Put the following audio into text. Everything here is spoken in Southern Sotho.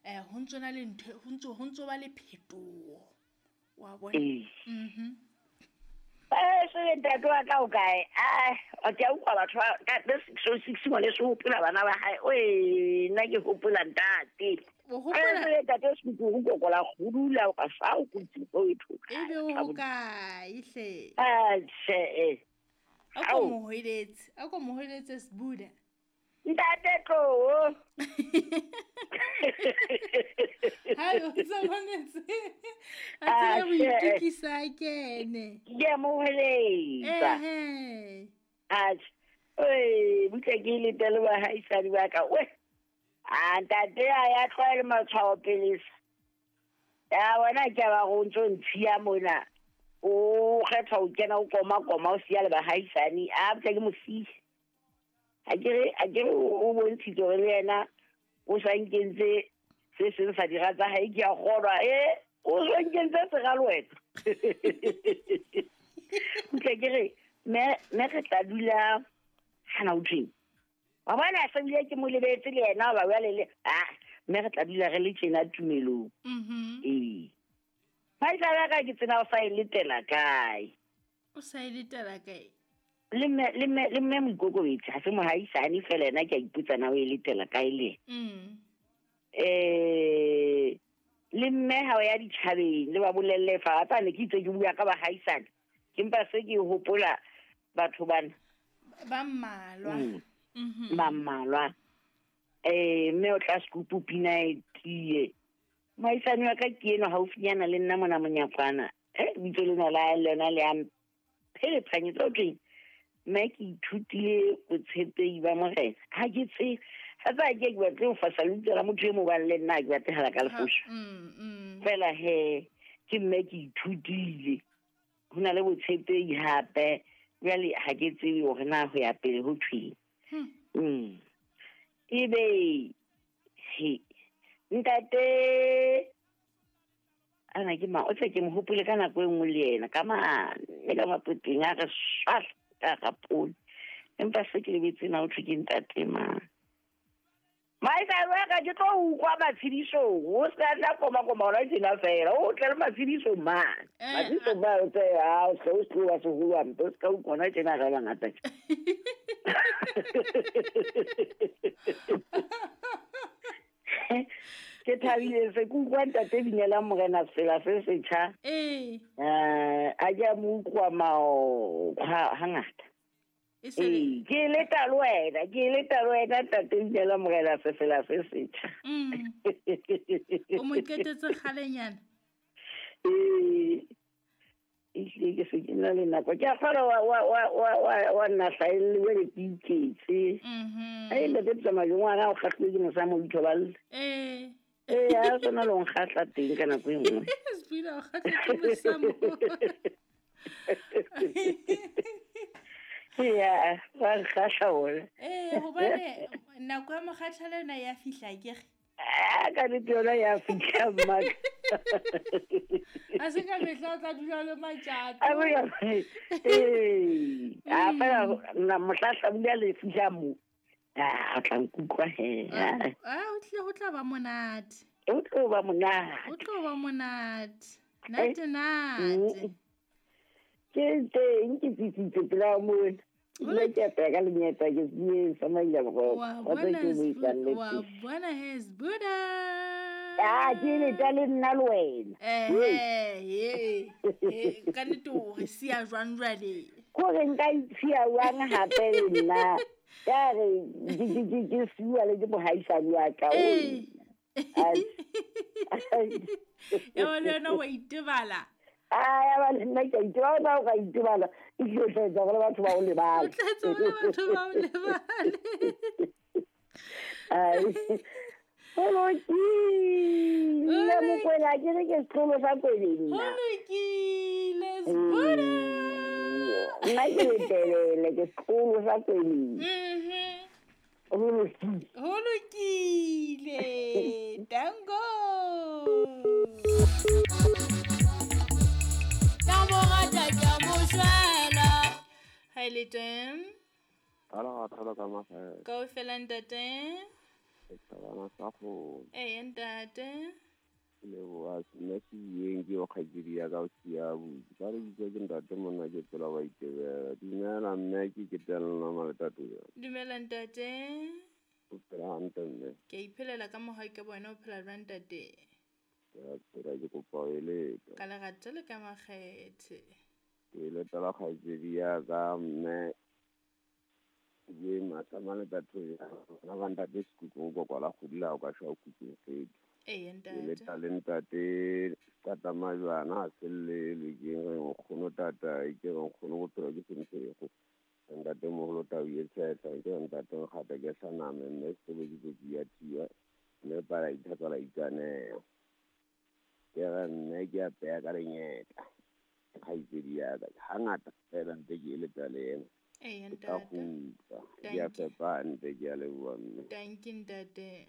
Ho ntso na le ntho, ho ntso ba le phetoho. Wa bona? Ee. Mhm. Se ntate wa ka o kae? A ke a utlwa batho ba ka the 606 ngwaneso o hopola bana ba hae. Oe, nna ke hopola ntate. O hopola Se ntate se go kola go dula o ka sa o kutsi o itho. Ebe o hokae hle? Ah, tjhe. A ko Ao. mo hweletse, a ko mo hweletse Sbuda. Ntate tlo. Hai, o tsa mametse. A tsebe ho Ah, tjhe. itokisa a kene. Ke a mo hweletsa. Ehe. Atjhe. Oi, butle ke letele bahaisane ba ka. We. A ntate a ya tlwaele matshwao pele sa. Ya bona ke a ba go ntso ntshiya mona. O kgetha ho kena o koma koma o siya le bahaisane. A butle ke mo siya. Ha ke re o bontshitse hore le yena o sa nkentse se seng sa dira tsa hae, ke a kgolwa o sa nkentse sera le wena. Butle ke re me re tla dula hana o thweng. Wa bona se bile ke mo lebetse le yena ba bua le le me re tla dula re le tjena tumelong. Ee. Phaisa ka ke tsena o sa e letela kae? O sa e letela kae? Le mme moikokobetsi ha se mohaisane fela yena ke a ipotsa na o e letela kae le yena. Le mme ha o ya ditjhabeng le ba bolelle fa tsa ne ke itse ke bua ka bahaisane. Ke mpa se ke hopola batho bana. Ba mmalwa. Ba mmalwa. Mme o tla sekupu pina e tiye. Mohaisane wa ka ke enwa haufinyana le nna mona monyakwana. Lebitso lena la lona le a mpherephanyetsa ho thweng. Mme ke ithutile botshepehi ba morena. Ha ke tsebe. Ha tsa ke ke batle ho fasa lebitso la motho e mong hobane le nna ha ke batle hela ka lefosha. Fela he, ke mme ke ithutile. Ho na le botshepehi hape. Jwale ha ke tsebe hore na ho ya pele ho thweng. Ebe he ntate ana ke mang o tse ke mo hopole ka nako e nngwe le yena ka mane ka mapoteng a re swahla ka rapone, empa se ke lebetse na ho thwe ke ntate mang. Maisa wa ka ke tlo utlwa matshedisong, o se ka tla koma koma hona tjena fela, o tle le matshedisong mane. Matshedisong mane, o tse, ha, o se o se wa seholo hampe, o se ka utlwa hona tjena re bangata tje. Ke thabile se ke utlwa ntate Binelang Morena Sefela se setjha. A ke a mo utlwa mao hangata. E se le- Ee, ke leta le wena, ke leta le wena ntate Binelang Morena Sefela se setjha. O mo qetetse kgalenyana? Ee. Ehlile ke se ke na le nako. Ke a kgolwa wa nna hlaelle jwale ke iketse. Ai, ntate Tsamaiso, ngwana o kgahlilwe ke mosamo o ithoballe. Ee, ha sona le ho nkgahla teng ka nako e nngwe. Sepina o kgahlwa ke mosamo. Ya, ba nkgahla bona. Ee, hobane nako ya mokgathala yona ya fihla akere? Ah, ka nnete yona ya fihla, mmaka. Ha se ka mehla o tla dula le matjato. A bo ya, ee, a fela na mohla hlabula le fihla mo. Ah, o tla nkutlwa he. Ah, o tlile ho tla ba monate. O tlo ba monate. O tlo ba monate. Nate, nate. Ke teng ke tsitsitse pela mona. Nna ke apeya ka lenyeta ke se sa maila boroko. Wa Wa tseba bona ke buisang le wa teng. bona he Sbuda. Ah, ke leta le nna le wena. He. He, ka nnete o re siya jwang jwale? Kore nka itshiya jwang hape le nna? Ka re ke siwa le ke mohaisane wa ka. Ai. Ya ba le wena wa itebala. Ah, ya ba le nna ke a itebala, o ka itebala. E tlile ho tla etsa hore batho ba o lebale. O tla etsa hore batho ba o lebale. Ai. Ho lokile, Mokwena, ke re ke setlolo sa Kweleng nna. Ho lokile, Sbuda. Nna ke letelele, ke setlolo sa Kweleng. Ho lokile. Ho lokile. Tango. Ka mo rata, ke a mo shwela. Ha e le teng? Ala, ga thola ka mafela. Kaofela ntate? Setjhabana sa kgolo. Ee ntate. Ke leboha mme Sebiyeng ke yo kgaitsedi ya ka o siya abuti. Ba re bitsa ke ntate monna ke tsela wa itebela. Dumela mme ke ketelna maletatolo. Dumela ntate. O phela hantle mme. Ke a iphelela ka mohau ke bona o phela jwang ntate? Ke a phela ke kopa ho eletsa. Ka lerato le ka makgethe. Ke eletsa kgaitsedi ya ka mme ke masama letatolo. Bana ba ntate Sekuku o kokwala kgodi la o ka shwa o kutlwe fetho. Ee Ke le ntate. talente tata majwana a sellelwe ke re nkgono tata ke re nkgono bophelo ke sentshego ntate moholo tau e tshetlha ke re ntate nkgata ke hlaname mme setobokitsotsi ya thiwa mme pala ithatsa la ikaneha ke re mme ke a peya ka lenyetla kgaitsedi ya ka hangata fela ntse ke eletsa le ena Ee ke tla ntate. kgutla ke a Thank you. fepa nte ke a leboha mme. Thank you ntate.